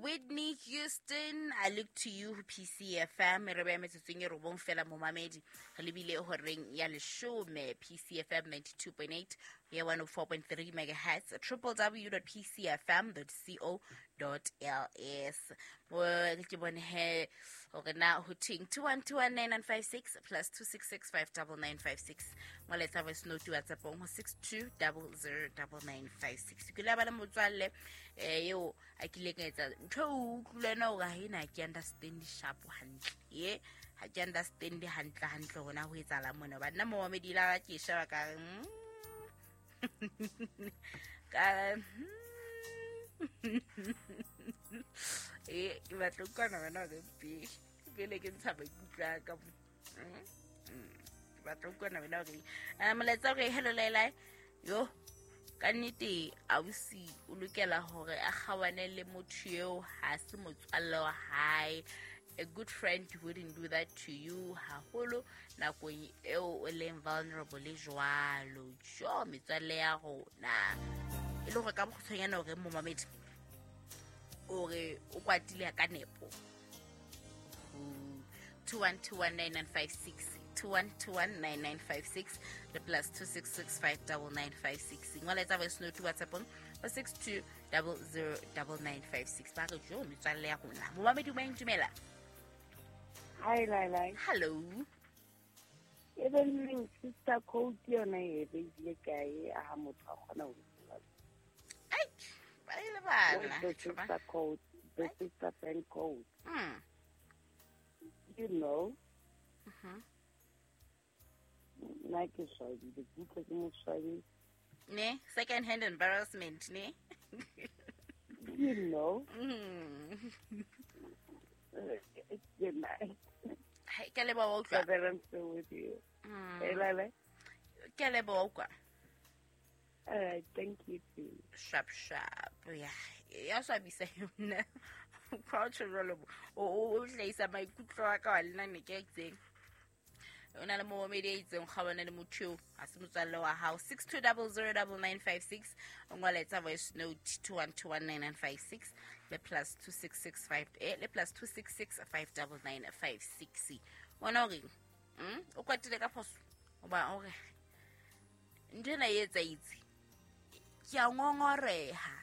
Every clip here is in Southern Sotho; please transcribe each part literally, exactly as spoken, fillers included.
Whitney Houston, I Look to You, P C F M. Re beya metsotsong e robong fela momamedi. Re lebile horeng ya leshome, P C F M ninety-two point eight, ya one oh four point three megahertz, triple w dot p c f m dot co dot l s. Mo ke bone he hore na ho theng two one two one nine nine five six plus two six six five double nine five six. Molaetsa voice note WhatsApp-ong ho six two double zero double nine five six. Ke la ba le motswalle, eh, eo a kileng a etsa ntho eo o utlwile na hore ha ena ke understand sharp hantle. Ye, ha ke understand hantle hantle hore na ho etsahala mona. Hobane nna momamedi la ka ke sheba ka re, mm. Ka, mm. Eh, ke batla ho utlwa wena hore pele, pele ke ntsha maikutlo a ka mo. Mm, mm. Ke batla ho utlwa wena hore, eh, molaetsa hore hello Laila. Yo, ka nnete ausi o lokela hore a kgawane le motho eo, ha se motswalle wa hae. A good friend wouldn't do that to you, haholo nakong eo o leng vulnerable le jwalo. Jo, metswalle ya rona. E le hore ka bokgutshwanyane hore momamedi, hore o kwatile ka nepo. two one two one nine nine five six, two one two one nine nine five six, le plus two six six five double nine five six. Ngola etsa voice note WhatsApp-ong ho six two double zero double nine five six. Ba re jo, metswalle ya rona. Momamedi o dumela. Hi, Laila. Hello. E be neng sister code yona e be ile kae a ha motho a kgona ho bua? Ai, ba ile bana. The sister code, the sister friend code. Mm. You know. Mm-hmm. Nna ke swabile, ke utlwa ke mo swabile. Ne, second hand embarrassment, ne? You know. Mm. Good night. Hey, ke a leboha utlwa. That I'm still with you. Mm. Hey, Lala. Ke a leboha utlwa. All right, thank you too. Sharp, sharp. Yeah. Ya swabisa yona. Crouch jwalo. O, o, o hlahisa maikutlo a ka wa lena ne ke itseng. O na le momamedi a itseng, kgawana le motho eo, ha se motswalle wa hao. six two double zero double nine five six. O ngola etsa voice note two one two one nine nine five six le plus two six six five, eh, le plus two six six five double nine five six. Wena o reng? Mm? O kwatile ka phoso? Hoba o re ntho ena e etsahetse. Ke a ngongoreha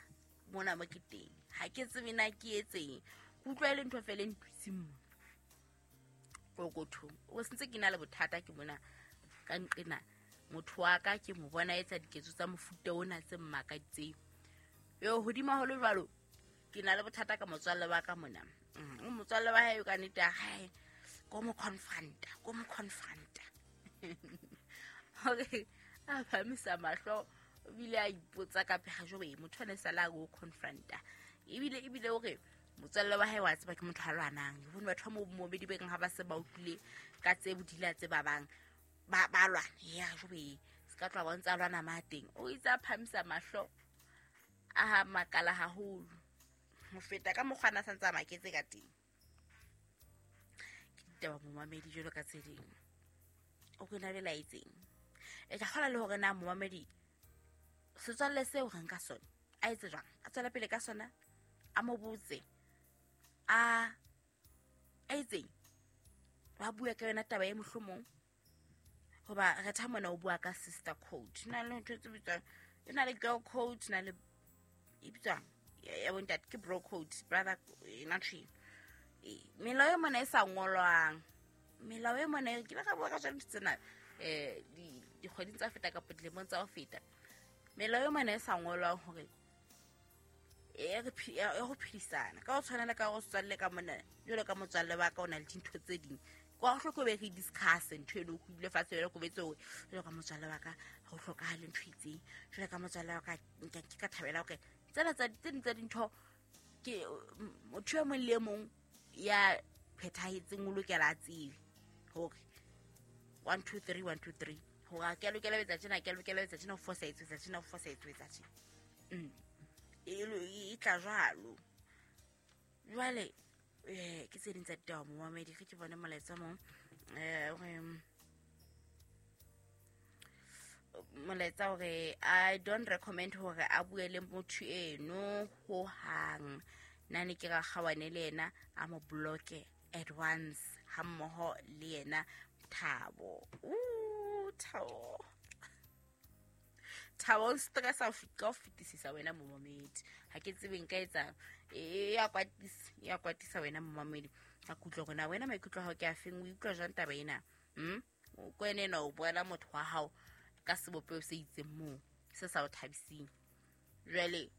mona mo ke teng. Ha ke tsebe na ke etseng. Ke utlwa e le ntho feela e ntwitseng mona. Pokothong. O sentse ke na le bothata ke mona ka nqena. Motho wa ka ke mo bona etsa diketso tsa mofuta ona tse mmakaditseng. Yo, hodima ho le jwalo, ke na le bothata ka motswalle wa ka mona. Mm, motswalle wa hae ka nnete ya hae, ko mo confronta, ko mo confronta. Hore a phamisa mahlo, ebile a ipotsa ka pheha jwale, motho ene sala go confronta. Ebile, ebile hore motswalle wa hae wa tseba ke motho a lwanang. Ke bone batho ba mo momedi be keng ha ba se ba utlwile ka tse bodila tse ba bang, ba, ba lwana. Ya, jwale, se ka tloha ba ntse a lwana ma teng. O itse a phamisa mahlo, a ha makala haholo. Ho feta ka mokgwa a sa ntse a maketse ka teng. Ke ditaba momamedi jwalo ka tse ding. O ke na belaetseng. E tla kgola le hore na momamedi setswalle seo re nka sona, a etse jwang? A tswela pele ka sona? A mo botse? A, a etseng? Ba bua ka yona taba e mohlomong? Hoba re tha mona o bua ka sister code. Na le ntho tse bitswang, e na le girl code, na le e bitswang ya, ya bontate ke bro code, brother, e na tjhe. E, melao e mona e sa ngolwang. Melao e mona e, ke ile ka bua ka tsona ntho tsena, eh, di, dikgweding tsa ho feta kapa dilemong tsa ho feta. Melao e mona e sa ngolwang hore e re phi-, e ho phedisana. Ka ho tshwana le ka ho setswalle ka mona, jwalo ka motswalle wa ka o na le dintho tse ding. Kwa ho hloke be re discuss ntho eno, ho dule fatshe jwalo ko betse hore jwalo ka motswalle wa ka ha ho hlokahale ntho e itseng. Jwalo ka motswalle wa ka, nka ke ka thabela hore tsena tsa tse ding tsa dintho ke motho e mong le e mong ya phethahetseng o lokela a tsebe hore one two three, one two three. Hore ha ke a lokela ho etsa tjena, ha ke a lokela ho etsa tjena, ho fosahetse ho etsa tjena, ho fosahetse ho etsa tjena. Mm. E lo-, e tla jwalo. Jwale, eh, ke tse ding tsa ditaba momamedi, ge ke bone molaetsa mong, eh, hore, molaetsa hore I don't recommend hore a bue le motho eno hohang. Nna ne ke ra kgawane le yena a mo bloke at once ha mmoho le yena Thabo. Ooh, Thabo. Thabo o stress a ka o fetisisa wena momamedi. Ha ke tsebe nka etsang. E ya kwatisa, ya kwatisa wena momamedi. Ka kutlwa hore na wena maikutlo a hao ke a feng, o utlwa jwang taba ena? Mm? O kwene ena o boela motho wa hao ka sebopeho se itseng moo se sa o thabiseng. Jwale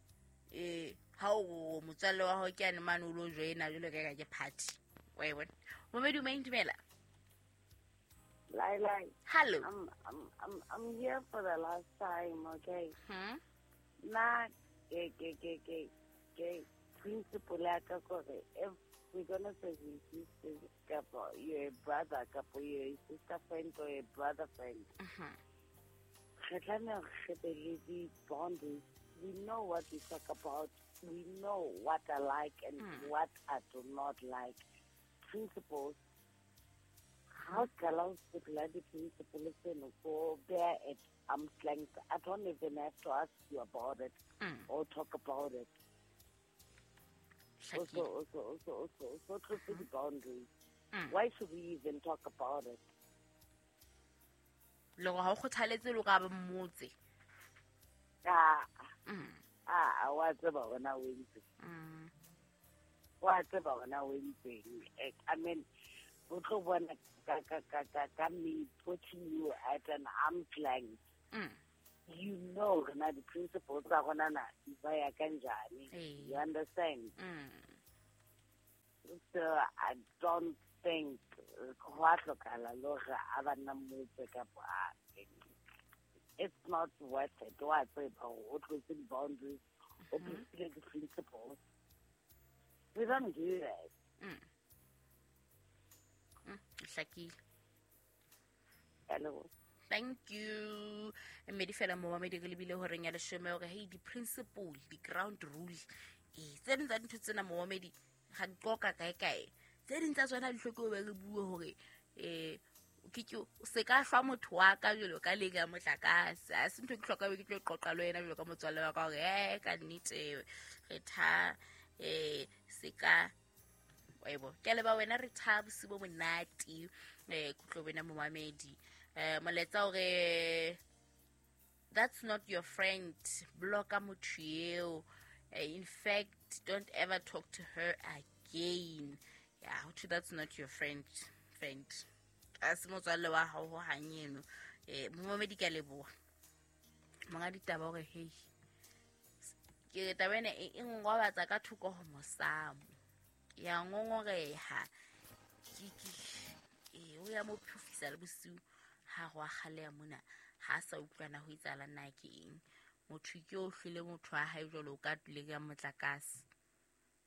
eh ha o motswalle wa hao ke ane mane o lo joina jwalo ka ka ke party. Wa e bona? Momamedi o dumela. Lai lai. Hello. I'm I'm I'm I'm here for the last time, okay? Hmm. Na ke ke ke ke ke principle ya ka kore if we're gonna say we sisters kapa you're a brother kapa you're a sister friend or a brother friend. Mhm. Re tlameha re be le di-boundaries. We know what we talk about. We know what I like and Mm. what I do not like. Principles. How can I bloody principles and go there at arm's length? I don't even have to ask you about it Mm. or talk about it. Also, Hlakile. also, also, also, also, also the boundaries. Mm. Why should we even talk about it? Le hore ha o kgothaletse le hore a ba mmotse. Ah, Mm. ah, wa tseba wena o entse. Mm. Wa tseba wena o entseng. Eh, I mean, o tlo bona ka ka ka ka ka me putting you at an arm's length. Mm. You know rena di-principles tsa rona na di baya kanjani. Ee. You understand? Mm. So I don't think go a tlhokala le hore a ba nna mmotse kapa a- it's not worth it. Wa tseba hore o tlotse di-boundaries, o tlotse di-principles. We don't do that. Mm. Mm. Hlakile. Hello. Thank you. Mme di fela momamedi re lebile horeng ya leshome hore hey di-principle, di-ground rule. Eh, tse ding tsa dintho tsena momamedi ga di qoqa kae kae. Tse ding tsa tsona di hloke ho be re bue hore eh ke ke se ka hlwa motho wa ka jwalo ka leka ya motlakase. Ha se ntho e ke hloka be ke tlo qoqa le wena jwalo ka motswalle wa ka hore eh ka nnete re tha eh se ka wa e bona. Ke a leboha wena re tha bosiu bo monate eh kutlo wena momamedi. Eh molaetsa hore that's not your friend, blocka motho eo. Eh, in fact, don't ever talk to her again. Yeah, ho thwe that's not your friend friend. A se motswalle wa hao ho hang eno. Eh momamedi ke a leboha. Monga ditaba hore hey ke taba ena e e ngobatsa ka thoko ho mosamo. Ya ngongoreha. Ke ke eh o ya mo phofisa le bosiu ha go a kgaleha mona ha sa utlwana ho etsahala na ke eng. Motho ke o hlile motho wa hae jwalo ka tuleng ya motlakase.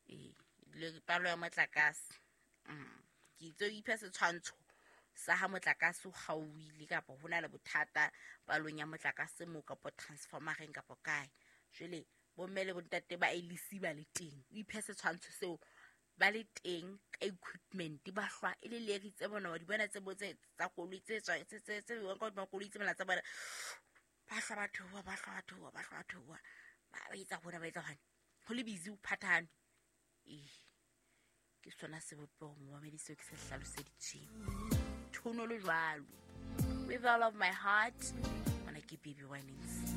Eh le palo ya motlakase. Mm. Ke itse o iphe setshwantsho sa ha motlakase o kgaohile kapa ho na le bothata palong ya motlakase moo kapa transformereng kapa kae. Jwale bomme le bontate ba L C ba le teng. O iphe setshwantsho seo ba le teng ka equipment ba hlwa e le leri tse bona wa di bona tse bo tse tsa koloi tse tswa tse tse tse bewang ka hodima koloi tse mona tsa bona. Ba hlwa ba theoha, ba hlwa ba theoha, ba hlwa ba theoha. Ba ba etsa hona, ba etsa hwane. Ho le busy ho phathahane. Eh, ke sona sebopeho momamedi seo ke se hlaloseditseng. Thono le jwalo. With all of my heart, mona ke Baby Winings.